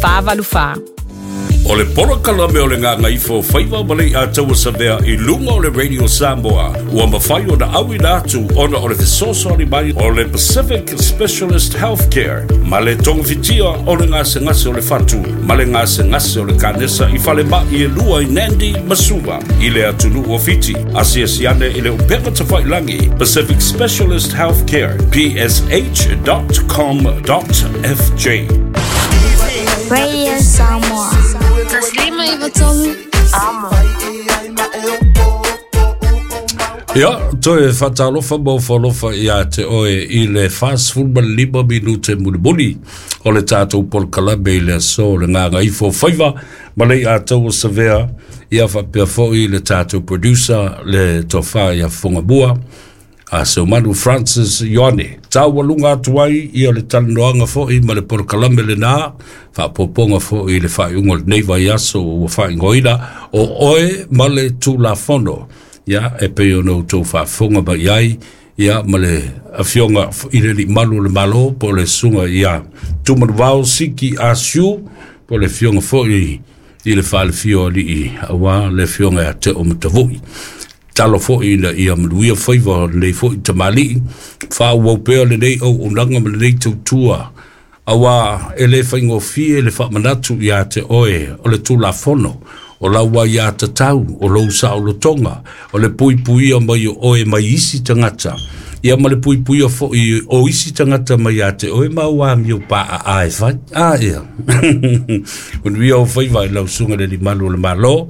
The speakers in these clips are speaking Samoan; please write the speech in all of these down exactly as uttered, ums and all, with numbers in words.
Fa valu fa. O le polokalame o le Gagaifo Faiva ma le Iataua Savea i luga o le Radio Samoa ua mafai ona auina atu ona o le fesoasoani mai o le Pacific Specialist Healthcare ma le togafitia o le gasegase o le fatu ma le gasegase o le kanesa i falemai e lua i Nandi ma Suva i le atunuu o Fiti. Asiasi ane i le upega tafailagi Pacific Specialist Healthcare P S H dot com dot F J. Radio Samoa. Taslima Ivatolu. Amo. Ia, toe whatalofa mo whalofa ia te oe i le whasful lima minute mulimuli o le tātou polokalame i le aso le Gagaifo Faiva ma le Iataua Savea ia whapea foi le tātou producer le tofa ia Fongamua a Seumanu Francis Ioane. Taualunga atu ai ia le talanoaga foi ma le polokalame lenā, faapopoga foi i le faaiuga o lenei vaiaso ua faaigoaina o oe ma le Tulafono. Ia, e pei ona outou faafofoga mai ai, ia, ma le afioga i le limalu o le Malo, po o le susuga ia Tumanuvao Siki Asiu, po o le afioga foi i le faalefia o alii auā le afioga ia Teo Matavui. Talo foi ina ia manuia faiva o lenei foi tamalii, faaauau pea lenei auaunaga ma lenei tautua, auā e lē faigofie le faamanatu iā te oe o le Tulafono, o lau ai iā tatau, o lou saolotoga, o le puipuia mai o oe mai isi tagata, ia ma le puipuia foi o isi tagata mai iā te oe ma ua amio paaa e fai. A ia. Manuia o faiva i lau susuga le limalu o le Malo,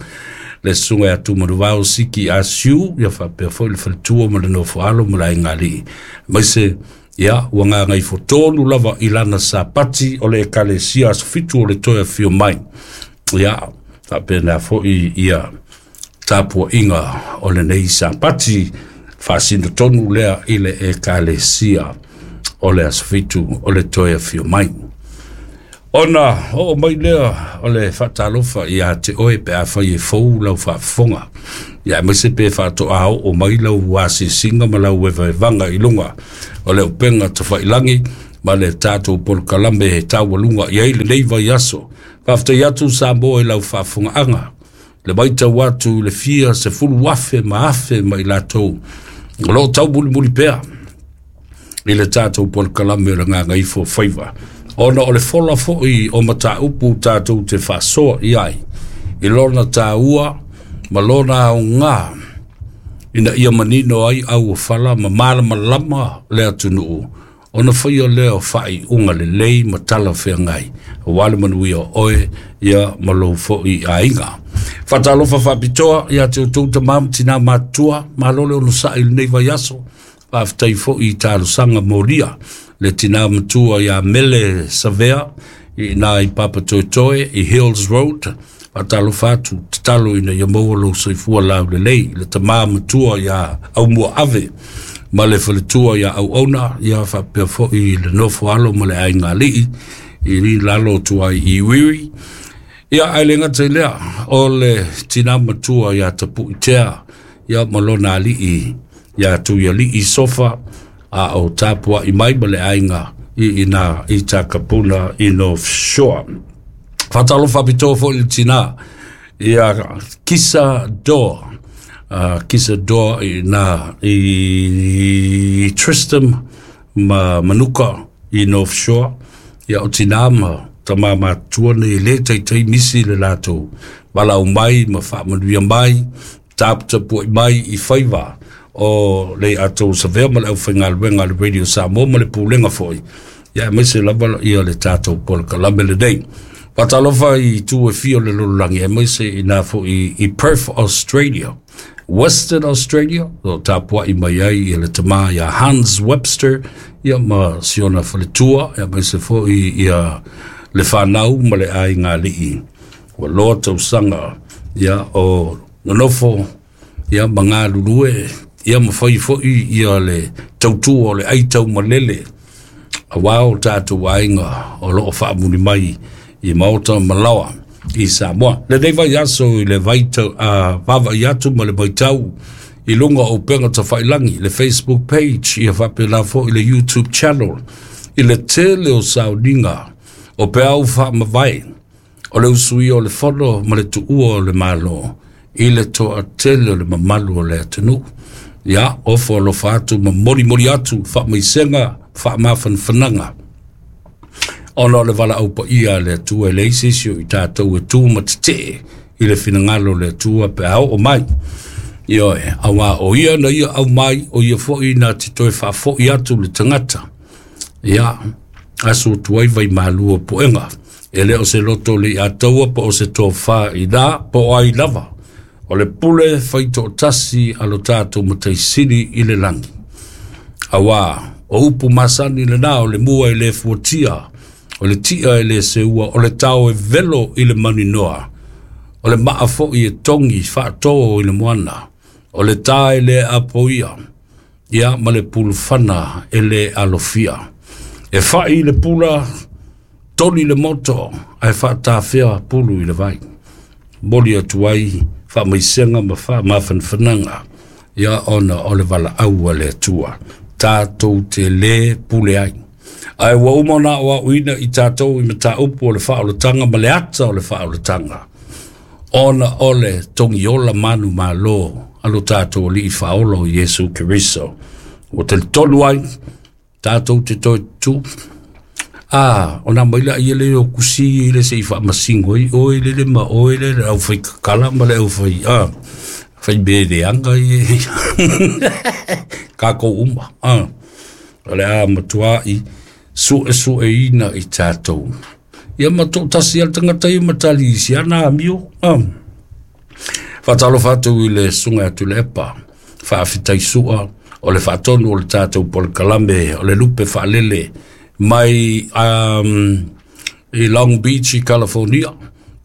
le susuga ia Tumanuvao Siki Asiu, ia faapea foi le faletua ma le nofoalo ma le aiga alii. Aemaise, ia, ua gagaifo tonu lava i lana sapati o le ekalesia aso fitu o le toe afio mai. Ia, faapena foi ia tapuaiga o lenei sapati faasino tonu lea i le ekalesia o le aso fitu o le toe afio mai. Ona oo mai lea o le faatalofa ia te oe pe afai e fou lau faafofoga. Ia aemaise pe faatoa oo mai lau asiasiga ma lau evaevaga i luga o le upega tafailagi ma le tatou polokalame e taualuga i ai lenei vaiaso. Faafetai atu Samoa i lau faafofogaaga, le maitau atu i le fia sefulu afe ma afe ma i latou o loo taumulimuli pea i le tatou polokalame o le Gagaifo Faiva. Ona o le fola foi o mataupu tatou te faasoa i ai, i lona tāua ma lona aogā, ina ia manino ai auofala ma malamalama le atunuu, ona faia lea o faaiuga lelei ma talafeagai, auā le manuia o oe ia ma lou foi aiga. Faatalofa faapitoa ia te outou tamā ma tinā matutua, malo le onosai i lenei vaiaso. Faafetai foi i talosaga molia le tinā matua ia Mele Savea i nā i Papatoetoe i Hills Road. Faatalofa atu tatalo ina ia maua lou soifua laulelei, le tamā matua ia Aumua Ave ma le faletua ia Auauna, ia faapea foi le nofo alo ma le aiga alii i li lalo atu ai i Wiri. Ia ae le gata i lea o le tinā matua ia Tapuitea ia ma lona alii ia Tuialii Sofa a o tapuai mai ma le aiga i ina i Takapuna i North Shore. Faatalofa faapitoa foi le tinā ia Kisa Doa, uh, Kisa Doa i na i Tristan ma Manuka i North Shore. Ia o tinā ma tamā matua nei le taitai misi le latou valaau mai ma faamanuia mai, taputapuai mai i faiva o le Iataua Savea ma le aufaigaluega a le Radio Samoa ma le pulega foi. Ia aemaise lava ia le tatou polokalame lenei. Faatalofa i itu e fia o le lalolagi, aemaise i nā foi i Perth, Australia, Western Australia, o tapuai mai ai ia le tamā ia Hans Webster, ia ma siona faletua, aemaise foi ia le whanau ma le aiga alii. Ua loa tausaga ia o nonofo ia ma galulue, ia ma fai foi ia le tautua o le aitau malele, auā o tatou aiga o loo faamuli mai i maota ma laoa i Samoa. Lenei vaiaso i le vaitau, uh, vaavaai atu ma le maitau i luga o upega tafailagi, le Facebook page, ia faapena foi le YouTube channel, i le tele o sauniga o peau faamavae O le usuia o le fono ma le tuua o le malo i le toatele o le mamalu o le atunuu. Ia, ofo alofa atu ma molimoli atu faamaisega, faamafanafanaga ona o le valaau paia a le Atua e leai se isi o i tatou e tu ma tetee i le finagalo o le Atua pe a oo mai. Ioe, auā o ia na ia aumai, o ia foi na te toe faafoi atu le tagata. Ia, aso atu ai vaimalu o puega. E le o se loto le ataua po o se tofā i nā po o ai lava. O le pule faitoatasi a lo tatou Mataisili i le lagi. Auā, o upu masani lena o le mua e le fuatia, o le tia e le seua, o le tao e velo i le maninoa, o le maa foi e togi faatō i le moana, o le tā e le apoia, ia ma le pulufana e le alofia. E fai le pula, toli le moto, ae faatafea pulu i le vai. Moli atu ai faamaisega ma faamafanafanaga, ia ona o le valaau a le Atua tatou te lē pule ai. Ae ua uma ona aoaoina i tatou i mataupu o le faaolataga ma le ata o le faaolataga, ona o le togiola manumalo a lo tatou Alii Faaola o Iesu Keriso. Ua talitonu ai tatou te toe tutū. A, ona mai la ia le o kusi i le se i faamasingo ai oe lele ma oe lele au fai kakala ma le au fai a fai mea leaga ia kākou uma. A, o le a matuai suesueina i tatou. Ia ma toatasi a le tagata ia ma tali i si ana amio. A, faatalofa atu i le susuga ia Tuilaepa, faafetai sua o le faatonu o le tatou polokalame o le lupe faalele mai um, i Long Beach i California.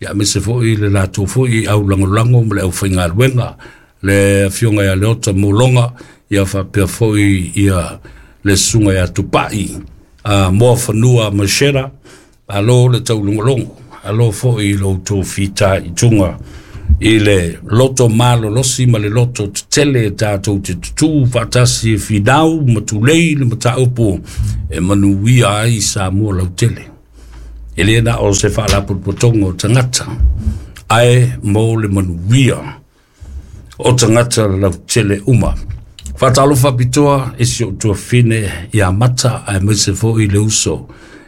Ia aemaise foi le latou foi au lagolago ma le aufaigaluega, le afioga ia Leota Mologa, ia faapea foi ia le susuga ia Tupai a Moafanua Mashera. Alo le taulogologo, alo foi i lo outou fitaituga i le loto malolosi ma le loto tetele e tatou te tutū faatasi e finau ma tulei le mataupu e manuia ai Samoa lautele. E le na o se faalapotopotoga o tagata, ae mo le manuia o tagata lautele uma. Faatalofa pitoa e si ou tuafine ia Mata, aemaise foi le uso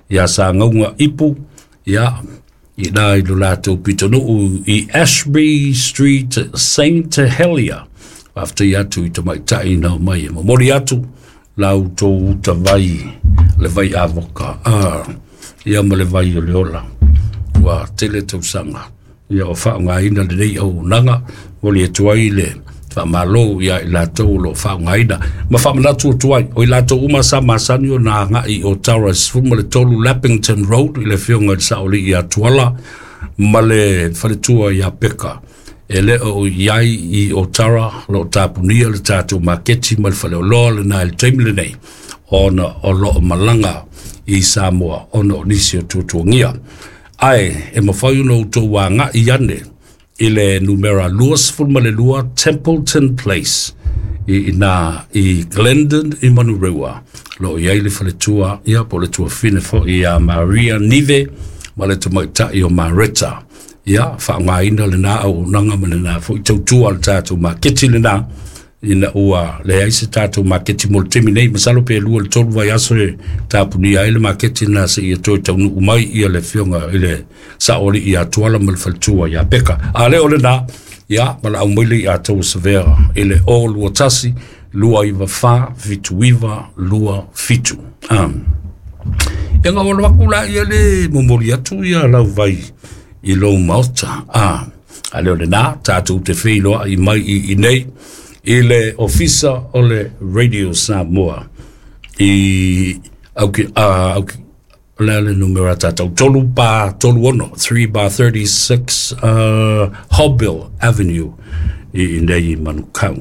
ia Sagauga Ipu, ia i na i lo latou pitonuu i Ashby Street, Saint Helier. Faafetai atu i tamaitai na mai e momoli atu la outou uta vai, le vai avoka, ah, ia ma le vai o le ola. Ua tele tausaga ia o faaaogaina lenei auaunaga, moli atu ai le faamalo ia i latou o lo o faaaogaina. Ma faamanatu atu ai, o i latou uma sa masani ona agai o Tara sefulu ma le tolu Lappington Road i le afioga i le Saolii ia Tuala ma le faletua ia Peka. E le o i ai i Otara, lo o tapunia le tatou maketi ma le faleoloa lena i le taimi lenei, ona o lo o malaga i Samoa ona o nisi o tuatuagia. Ae e mafai ona outou agai ane i le numera luasefulu ma le lua Templeton Place i ina i Glendon i Manurewa. Lo o i ai le faletua, ia po o le tuafine foi ia Maria Nive ma le tamaitai o Mareta. Ia, faaaogaina lena auaunaga ma lena foi tautua a le tatou maketi lena, ina ua leai se tatou maketi mo le taimi nei. Masalo pe lua le tolu vaiaso e tapunia ai le maketi lena seia toe taunuu mai ia le afioga i le Saoalii ia Tuala ma le faletua ia Peka. A le o lena, ia valaau mai le ia tou savea i le o lua tasi, lua iwa wha, fitu iwa, lua fitu. Um. Ia ngā wala waku la ia le momoli atu ia lau vai i lou maota. Ah, a le o lena, tātou te feiloai mai i i nei, i le ofisa o le Radio Samoa i auki, uh, auki, o le a le numera tātou, tolu pa tolu ono, three bar thirty-six uh, Hobbill Avenue i i nei i Manukau.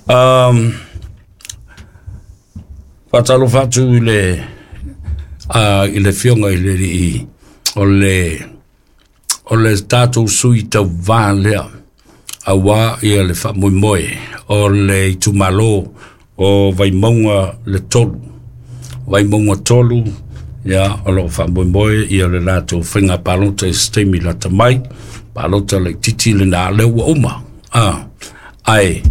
um, Faatalofa atu i le uh, i le fionga i le i o le o le tatou sui tauvā lea auā ia le faamoemoe o le itumalo o Vaimauga le tolu. Vaimauga tolu Ia o loo faamoemoe ia le latou faiga palota i se taimi lata mai, palota laitiiti lena lea ua uma a, ae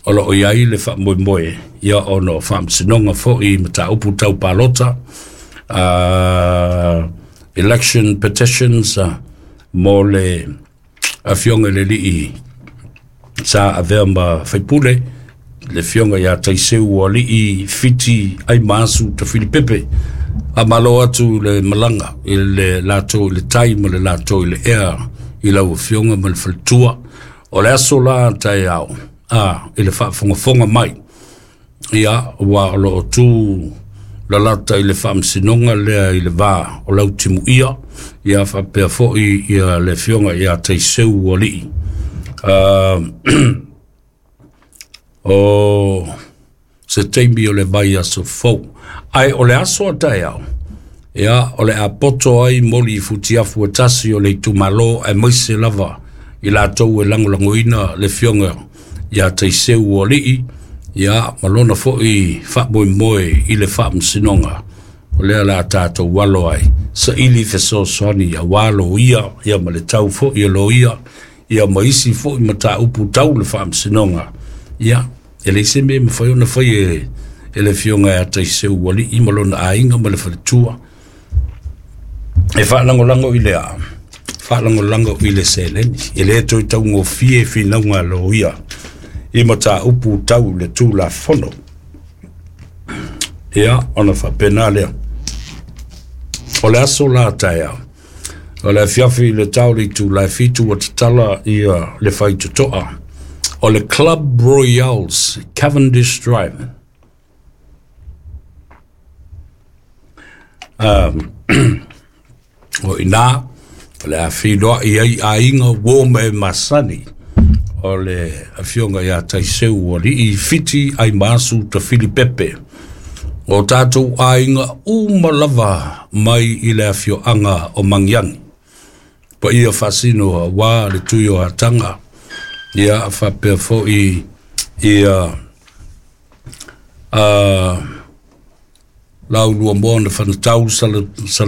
o loo iai le faamoemoe ia ona o faamasinoga fo'i mataupu tau palota, uh, election petitions uh, mo le afioga i le alii sa avea ma faipule, le afioga ia Taiseu Alii Fiti Aimaasu Tafilipepe. Faamalo atu le malaga i le latou i le tai ma le latou i le ea i lau afioga ma le faletua. O le aso la taeao a i le faafogafoga mai ia ua o loo tu lalata i le faamasinoga lea i le va o lau timuia ia faapea fo'i ia le afioga ia Taiseu Alii. uh, o se taimi o le vai aso fou, ae o le aso a taeao ia o le a poto ai moli i futiafu e tasi o le itumalo aemaise lava i latou e lagolagoina le afioga ia Taiseu Alii ia ma lona fo'i faamoemoe i le faamasinoga o lea la tatou alo ai saili fesoasoani auā loia ia ma le tau fo'i o loia ia ma isi fo'i mataupu tau le faamasinoga. Ia e leai se mea e mafai ona fai e e le afioga ia Taiseu Alii ma lona aiga ma le faletua e faalagolago i le a faalagolago i le seleni e lē toe taugofie finauga a loia i mataupu tau le tulafono. Ia ona faapena lea o le aso la taeao o le afiafi i le tau le itula e fitu ua tatala ia le faitotoa o le Club Royals, Cavendish Drive. um, o ina o le a feiloai ai aiga uō ma e masani o le afioga ia Taiseu Alii Fiti Aimaasu Tafilipepe o tatou aiga uma lava mai i le afioaga o Magiagi paia faasino auā le tui o Ataga ia faapea fo'i ia uh, laulua moa na fanatau sala sala